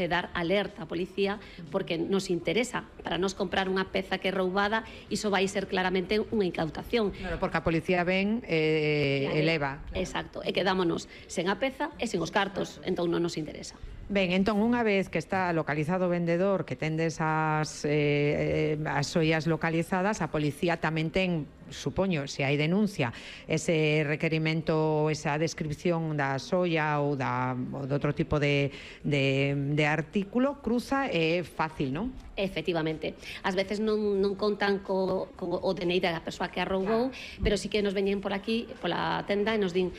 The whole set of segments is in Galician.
dar alerta á policía porque nos interesa para nos comprar unha peza que é roubada, iso vai ser claramente unha incautación. Claro, porque a policía ven eleva. Exacto, e quedámonos sen a peza e sen os cartos, entón non nos interesa. Ben, entón, unha vez que está localizado o vendedor, que tendes as xoias localizadas, a policía tamén ten, supoño, se hai denuncia, ese requerimento, esa descripción da xoia ou de outro tipo de artículo, cruza, é fácil, non? Efectivamente. Ás veces non contan co DNI da persoa que a roubou, pero sí que nos veñen por aquí, pola tenda, e nos din,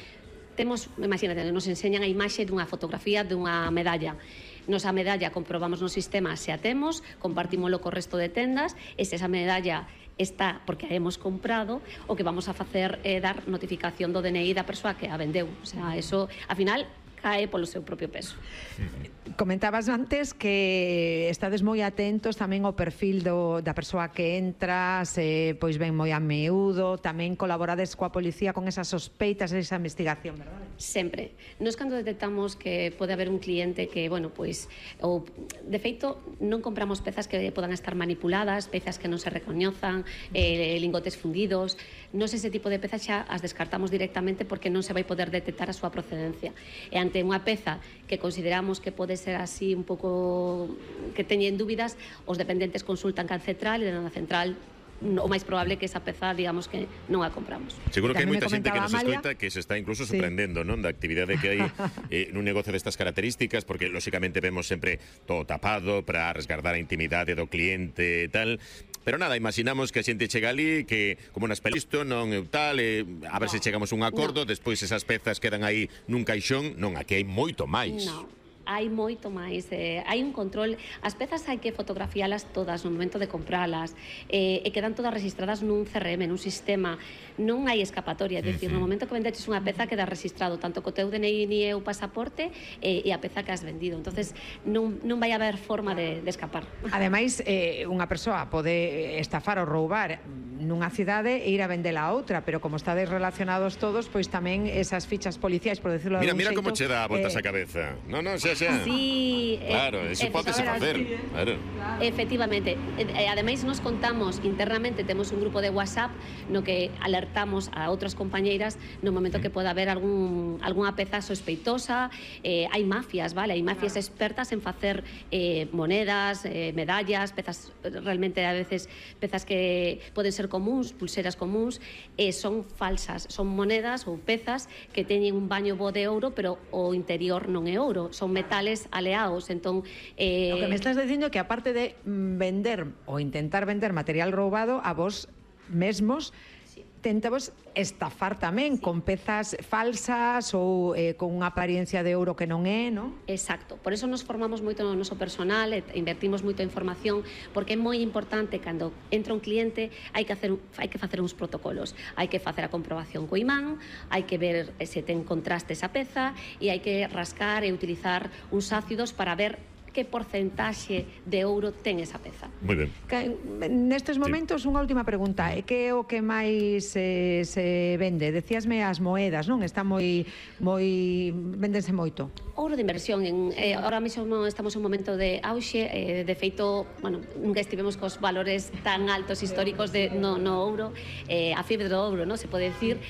imagínate, nos enseñan a imaxe dunha fotografía dunha medalla. Nos a medalla comprobamos no sistema se a temos, compartímolo co resto de tendas, e se esa medalla está porque a hemos comprado, o que vamos a facer é dar notificación do DNI da persoa que a vendeu. O sea, eso, ao final, cae polo seu propio peso. Comentabas antes que estades moi atentos tamén ao perfil da persoa que entra, se pois ben moi a miúdo, tamén colaborades coa policía con esas sospeitas, esa investigación, verdade? Sempre. Nos cando detectamos que pode haber un cliente que, bueno, pois, ou, de feito, non compramos pezas que podan estar manipuladas, pezas que non se recoñezan, lingotes fundidos, nos ese tipo de pezas xa as descartamos directamente porque non se vai poder detectar a súa procedencia. E ante unha peza que consideramos que pode ser así un pouco que teñen dúbidas, os dependentes consultan can central e na central o máis probable que esa peza, digamos que non a compramos. Seguro que hai moita xente que nos escoita que se está incluso sorprendendo, non, da actividade que hai nun negocio destas características, porque lóxicamente vemos sempre todo tapado para resguardar a intimidade do cliente e tal. Pero nada, imaginamos que a xente chega ali, que como nas pelis isto non é tal, a ver se chegamos a un acordo, despois esas pezas quedan aí nun caixón. Non, aquí hai moito máis. Non. Hai moito máis, hai un control, as pezas hai que fotografialas todas no momento de compralas, e quedan todas registradas nun CRM, nun sistema, non hai escapatoria, é dicir, no momento que vendeches unha peza queda registrado tanto co teu DNI e o pasaporte e a peza que has vendido, entonces non vai haber forma de escapar. Ademais, unha persoa pode estafar ou roubar nunha cidade e ir a vendela a outra, pero como estades relacionados todos, pois tamén esas fichas policiais, por decirlo de algún xeito... Mira como che dá voltas a cabeza. Non, xa. Sí, claro, eso pódese facer. Claro. Efectivamente. Ademais, nos contamos internamente, temos un grupo de WhatsApp no que alertamos a outras compañeiras no momento que poda haber algunha peza sospeitosa. Hai mafias, vale? Hai mafias expertas en facer monedas, medallas, pezas, realmente a veces pezas que poden ser comuns, pulseras comuns, son falsas, son monedas ou pezas que teñen un baño bo de ouro, pero o interior non é ouro, son metales aleados, entón... O que me estás dicindo é que aparte de vender ou intentar vender material roubado, a vos mesmos tentamos estafar tamén con pezas falsas ou con unha apariencia de ouro que non é, non? Exacto, por eso nos formamos moito no noso personal, invertimos moito en formación, porque é moi importante cando entra un cliente hai que facer uns protocolos, hai que facer a comprobación co imán, hai que ver se ten contraste esa peza e hai que rascar e utilizar uns ácidos para ver que porcentaxe de ouro ten esa peza. Moi ben. Nestes momentos, unha última pregunta. Que é o que máis se vende? Decíasme as moedas, non? Está vendense moito. Ouro de inversión. Ahora mesmo estamos en un momento de auxe. De feito, bueno, nunca estivemos cos valores tan altos históricos no ouro. A fiebre do ouro, non? Se pode decir.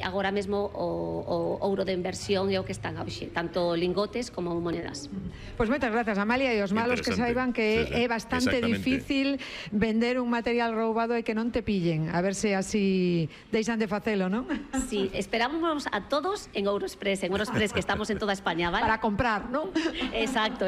Agora mesmo o ouro de inversión é o que está en auxe. Tanto lingotes como monedas. Pois moitas grazas, Amalia, e os malos que saiban que é bastante difícil vender un material roubado e que non te pillen, a ver se así deixan de facelo, non? Sí, esperamos a todos en Euroexpress, que estamos en toda España, ¿vale? Para comprar, non? Exacto.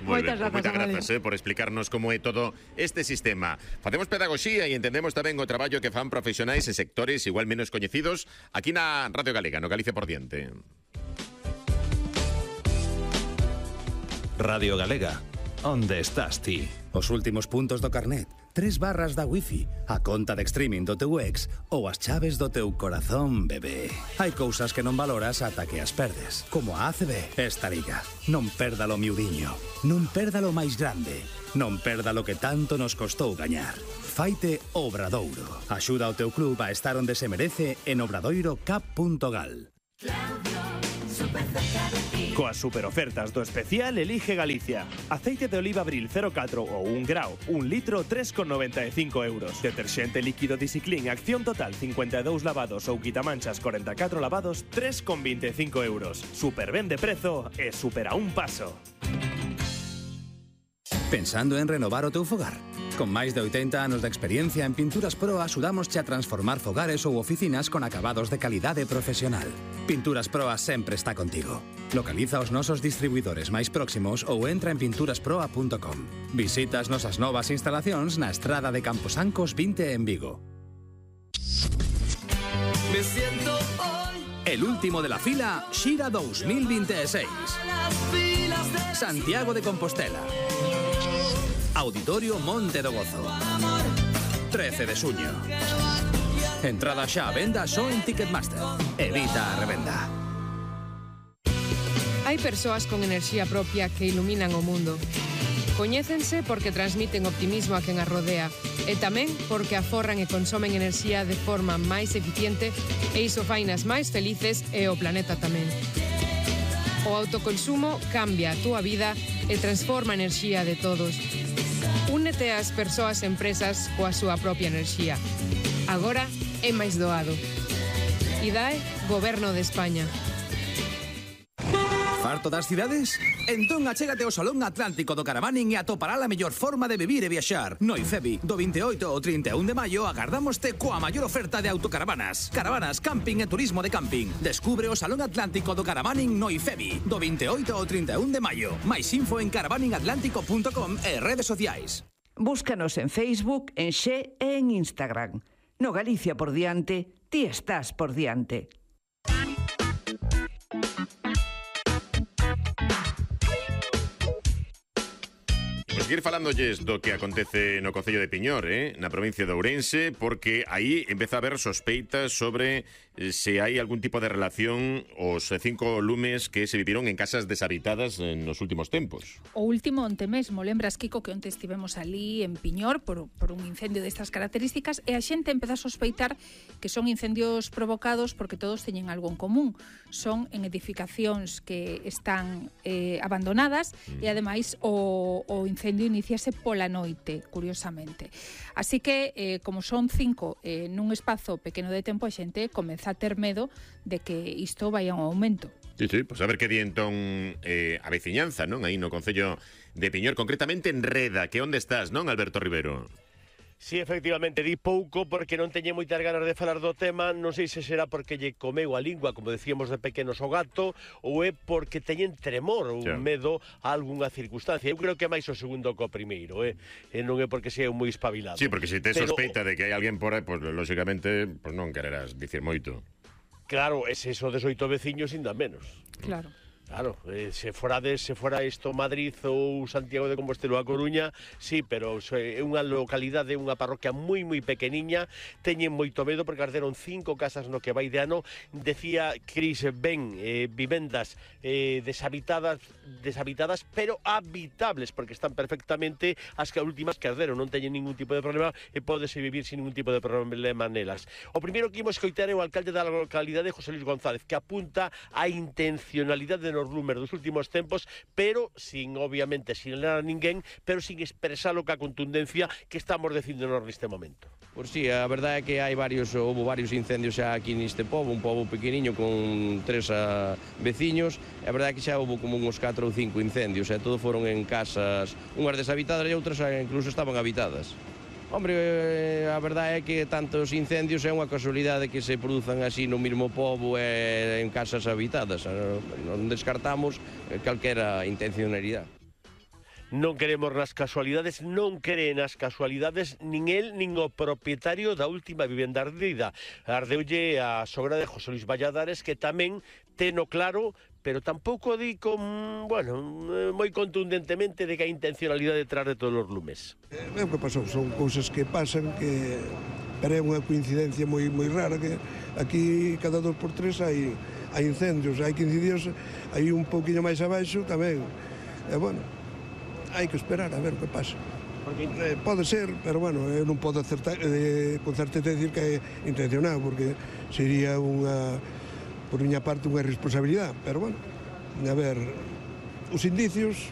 Moitas grazas por explicarnos como é todo este sistema. Facemos pedagogía e entendemos tamén o traballo que fan profesionais e sectores igual menos coñecidos aquí na Radio Galega, no Galicia por diante. Radio Galega, onde estás ti? Os últimos puntos do carnet, 3 barras da wifi, a conta de streaming do teu ex ou as chaves do teu corazón, bebé. Hai cousas que non valoras ata que as perdes, como a ACB. Esta liga, non perdalo miudiño, non perdalo máis grande, non perdalo que tanto nos costou gañar. Faite Obradoiro. Axuda ao teu club a estar onde se merece en obradoirocap.gal. Claudio, super cerca de ti. Coas superofertas do especial Elige Galicia. Aceite de oliva Abril 0,4 ou 1 grao, 1 litro, 3,95 euros. Deterxente líquido Disciclin Acción Total 52 lavados ou quitamanchas 44 lavados, 3,25 euros. Super ben de prezo e super a un paso. Pensando en renovar o teu fogar? Con máis de 80 anos de experiencia en Pinturas Pro axudámosche a transformar fogares ou oficinas con acabados de calidade profesional. Pinturas Pro sempre está contigo. Localiza os nosos distribuidores máis próximos ou entra en pinturasproa.com. Visita as nosas novas instalacións na estrada de Camposancos 20 en Vigo. Me siento hoy. El último de la fila, Xira 2026. Santiago de Compostela. Auditorio Monte do Gozo. 13 de suño. Entrada xa a venda só en Ticketmaster. Evita a revenda. Hai persoas con enerxía propia que iluminan o mundo. Coñécense porque transmiten optimismo a quen as rodea e tamén porque aforran e consomen enerxía de forma máis eficiente e iso fainas máis felices e o planeta tamén. O autoconsumo cambia a túa vida e transforma a enerxía de todos. Únete ás persoas e empresas coa súa propia enerxía. Agora é máis doado. IDAE, Goberno de España. Farto das cidades? Entón achégate ao Salón Atlántico do Caravaning e atopará a mellor forma de vivir e viaxar. No IFEBI, do 28 ao 31 de maio, agardámoste coa maior oferta de autocaravanas. Caravanas, camping e turismo de camping. Descubre o Salón Atlántico do Caravaning no IFEBI, do 28 ao 31 de maio. Mais info en caravaningatlántico.com e redes sociais. Búscanos en Facebook, en Xe e en Instagram. No Galicia por diante, ti estás por diante. Seguir falándolles do que acontece no Concello de Piñor, na provincia de Ourense, porque aí empeza a haber sospeitas sobre se hai algún tipo de relación os 5 lumes que se viviron en casas deshabitadas nos últimos tempos. O último onte mesmo, lembras, Kiko, que onte estivemos ali en Piñor por un incendio destas características e a xente empeza a sospeitar que son incendios provocados porque todos teñen algo en común. Son en edificacións que están abandonadas e ademais o incendio iniciase pola noite, curiosamente. Así que, como son 5 nun espazo pequeno de tempo, a xente comeza a ter medo de que isto vai a un aumento. Sí, pois a ver que di entón a veciñanza, non? Aí no Concello de Piñor, concretamente en Reda, que onde estás, non, Alberto Rivero? Sí, efectivamente, di pouco porque non teñe moitas ganas de falar do tema, non sei se será porque lle comeu a lingua, como decíamos de pequenos o gato, ou é porque teñen tremor ou medo a algunha circunstancia. Eu creo que é máis o segundo co primeiro, e non é porque sea moi espabilado. Sí, porque se te sospeita de que hai alguén por aí, pois lógicamente non quererás dicir moito. Claro, é eso de 8 veciños ainda menos. Claro. Claro, se fora isto Madrid ou Santiago de Compostela ou A Coruña, sí, pero é unha localidade, unha parroquia moi pequeniña, teñen moito medo porque arderon 5 casas no que vai de ano. Decía Cris Ben, vivendas deshabitadas, pero habitables, porque están perfectamente as últimas que arderon, non teñen ningún tipo de problema e pódese vivir sin ningún tipo de problema nelas. O primeiro que imos coitar é o alcalde da localidade, José Luis González, que apunta a intencionalidade de nos lumes dos últimos tempos, pero obviamente sin ler a ninguén, pero sin expresalo ca contundencia que estamos decindonos neste momento. Por si, a verdade é que houve varios incendios xa aquí neste pobo, un pobo pequeniño con 3 veciños, e a verdade é que xa houve como uns 4 ou 5 incendios, e todos foron en casas, unhas deshabitadas e outras incluso estaban habitadas. Hombre, a verdade é que tantos incendios é unha casualidade que se produzan así no mesmo pobo e en casas habitadas. Non descartamos calquera intencionalidade. Non queremos nas casualidades, non cree nas casualidades nin el nin o propietario da última vivenda ardida. Ardeulle a sogra de José Luis Valladares, que tamén teno claro, pero tampouco di moi contundentemente de que a intencionalidade detrás de todos os lumes. É o que pasou, son cousas que pasan, pero é unha coincidencia moi rara, que aquí cada 2 por 3 hai incendios, hai 15 días, hai un pouquiño máis abaixo tamén. E hai que esperar a ver o que pasa. Pode ser, pero eu non podo con certeza decir que é intencionado, porque sería por miña parte unha irresponsabilidade, pero A ver, os indicios